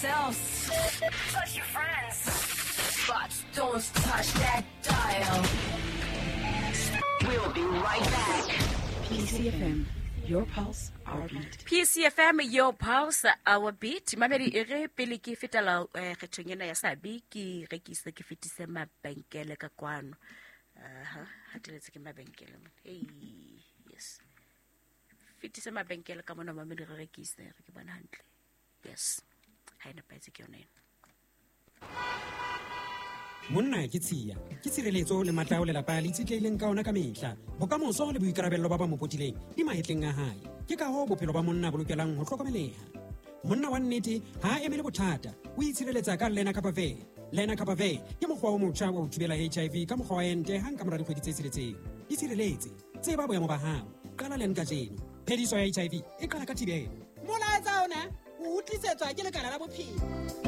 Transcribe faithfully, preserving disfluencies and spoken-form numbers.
Touch your friends. But don't touch that dial. We'll be right back. P C F M, your pulse, our beat. P C F M, your pulse, our beat. Mamedi, e re pele ke fetela, eh, kgethong ena ya Sabi, ke rekise, ke fetise mabenkele ka kwano. Aha, hateletse ke mabenkele mona. Hey, yes. Fetise mabenkele ka mona, mamedi, re rekise, re ke bona hantle. Yes. Ha e nepahetse ke yona ena. Monna ke tshiya, ke tshireletso le matla ao lelapa le itshetlehileng ka ona ka mehla. Bokamoso le boikarabello ba ba mo potileng di mahetleng a hae. Ke ka hoo bophelo ba monna bo lokelang ho hlokomeleha. Monna wa nnete ha a emele bothata, o itshireletsa ka Lenacapavir. Lenacapavir ke mokgwa o motjha wa ho thibela H I V ka mokgwa wa ente hang ka mora dikgwedi tse tsheletseng. Itshireletse, tseba boemo ba hao. Qala len kajeno. Phediso ya H I V e qala ka thibelo. Molaetsa ona o utlwisetswa ke lekala la bophelo.